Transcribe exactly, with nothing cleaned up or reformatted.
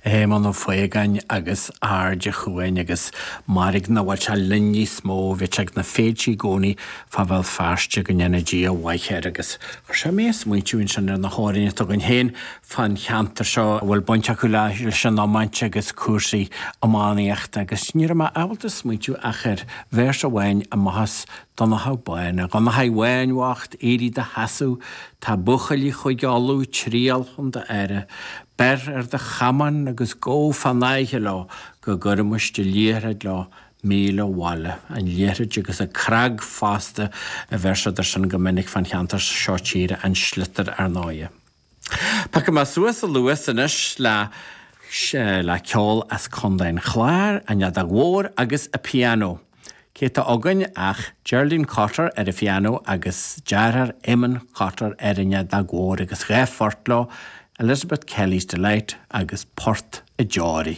Éamonn Ó Faogáin agus Aird a' Chuain agus mairg nach bhfuil sé linn níos mó, bhí sé ag na féilte i gcónaí fá Bhéal Feirste go ndéana Dia a mhaith air agus chuir sé mé ag smaointiú ansin ar na hamhráin atá againn féin fán cheantar seo a bhfuil baint acu leis an iomáint agus cúrsaí iománaíochta agus ní raibh mé ábalta smaointiú ach ar véarsa amháin amach as Donnchadh Bán, A Dhonnchaidh Bháin bhoicht, éirigh i do sheasamh, tá buachaillí Chúige Uladh ag triall chun d'aire. Beir ar do chamán agus gabh fán fhaiche leo go gcuirfimis do liathróid leo míle abhaile. An liathróid agus an cnag fosta a bheir siad air sin go minic fán cheantar seo tíre, an sliotar ar ndóighe. Piocfaidh mé suas an luas anois le le ceol as Contae an Chláir, an fheadóg mhór agus an pianó. Cé tá againn ach Geraldine Cotter ar an phianó agus deartháir Eamon Cotter ar an fheadóg mhór agus dhá phort leo, Elizabeth Kelly's Delight agus Port a Deoraí.